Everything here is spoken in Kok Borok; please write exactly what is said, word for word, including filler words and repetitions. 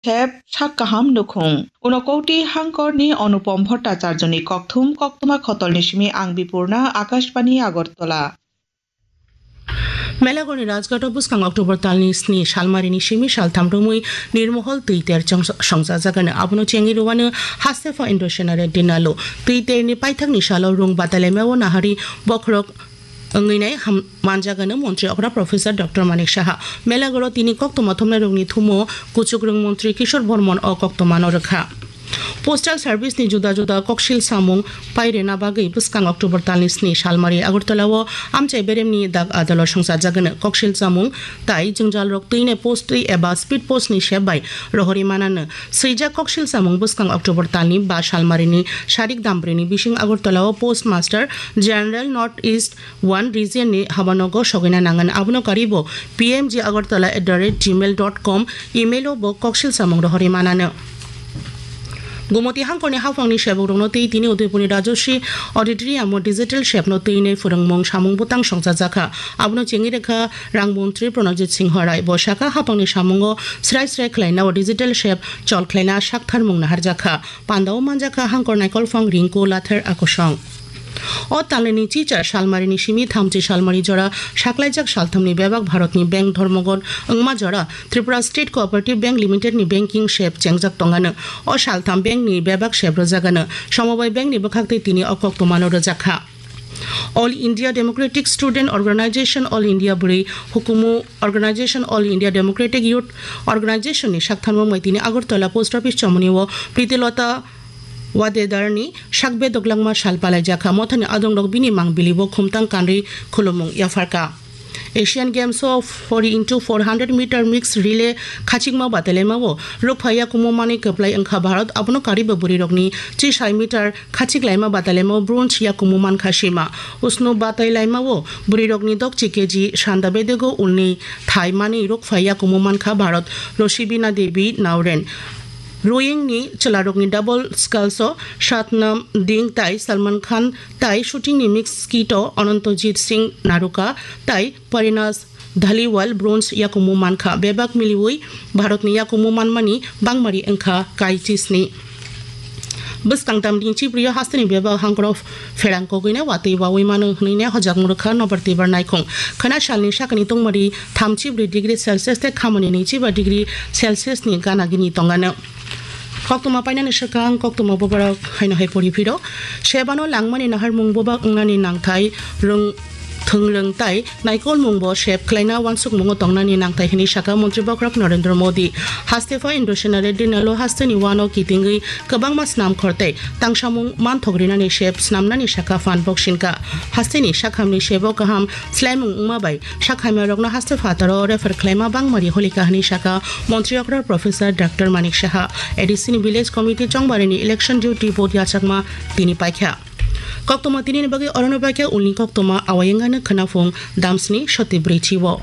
Sep sak kaham nukhung. Unokoti hangkorni Anupam Bhattacharjoni kokthum koktwma khotolni simi ang Bipurna, Akashbani Agartala. Melagorni Rajghato bwskang October talni sni salmarini simi saltham romwi nirmohol twi ter chong-, songchajagano. Abono chengwi rwano Hastepha Indo Sena Reddy Nalo. Twi terni paithakni salo rung batalaimao nahari bokhorok wngwi nai ham-, manjagano Montri okra Professor Doctor Manik Saha. Melagoro tini koktwma thumnairokni thumo kuchukrwng Montri Kishore Bormon o koktwmano rwkha. Postal Service ni juda juda koksil samung pairwna bagwi bwskang October talni sni salmari Agartala o amchai beremni dak adalo songchajagano. Koksil samung tai jwngjalrok twinai post twi eba speed post ni sep bai rohorwi manano. Swijak koksil samung bwskang October talni ba salmarini sarik dambrini bising Agartala o Postmaster General North East one region ni habanogo sogwina nangan. Abono karibo P M G Agartala at the rate gmail dot com email o bo koksil samung rohorwi manano. Gumoti hangkorni haphangni sebukrokno twi tini Udaipurni Rajashree Auditorium o digital sepno twinai phwrwngmung samung bwtang songchajakha. Abono chengwi rwkha Rang Montri Pranajit Singha Rai. Bo sakha, haphangni samungo srai srai khlainao digital sep chol khlaina saktharmung naharjakha. Pandao manjakha hangkor naikolphang Rinku Lather Akosong. O talnini chichar salmarini simi thamchi salmari jora saklaijak salthamni bebak Bharatni bank dhormogot wngma jora Tripura State Cooperative Bank Limited ni banking sep chengjak tongano. O saltham bank ni bebak sep rwjagano. Somobai bank ni bwkhaktwi tini o koktwmano rwjakha. All India Democratic Student Organization, All India Bwrwi Hukumu Organization, All India Democratic Youth Organization ni saktharmung bai tini Agartala Post Office chomoni o Pritilota Wadedarni sak bedok langma sal palaijakha. Mothani adongrok bini mang bilibo khumtang kanri khulumung yapharkha. Asian Games o four into four hundred meter mixed relay khachikma batailaimao rukpha yakumu manwi kwplai wngkha Bharat. Abono karibo bwrwirokni chisai meter khachik laima batailaimao bronze yakumu mankha sima. Usnu batailaimao bwrwirokni dokchi K G sanda bedego ulni thai manwi rukpha yakumu mankha Bharat Rosibina Devi Nauren. Rowing ni chwlarokni double sculls o Satnam Ding tai Salman Khan tai shooting ni mixed skeet o Anantajit Singh Naruka tai Parinas Dhaliwal bronze yakumu mankha. Bebak miliwi Bharatni yakumu manmani bangmari wngkha kaichisni. Bwskang tamni chibrio hasteni bebak hangkoro pherang kogwina watwi wawi mano hwnwi ne hojak mwrwkha nobar twibar naikhung. Khwna salni sakni tongmari thamchi bwrwi degree Celsius tei khamani nwichiba degree Celsius ni gana gini tongano. Koktwma painani swkang koktwma boborok haino hai pori phiro. Sebano langmani naharmung bobak wngnani nangthai rwng thwngrwng tai naikolmungbo sep khlaina uansukmungo tongnani nangthai hwnwi sakha Montri Bokhorok Narendra Modi. Hastepha Indo Sena Reddy Nalo hasteni uano kitingwi kwbangma snam khor tei tangsamung manthok rinani sep snamnani sakha phan boksingkha. Hasteni sakhamni sebo kaham slaimung wngma bai sakhamyarokno haste phataro refer khlaima bangmari holikha hwnwi sakha Montri okra Professor Doctor Manik Saha. A D C ni Village Committee chongbarini election duty vote yachakma tini paikha. Koktwma tinini bagwi orono paikha, ulni koktwma awayengano khwnaphung damsni soti bwrwi chiwo.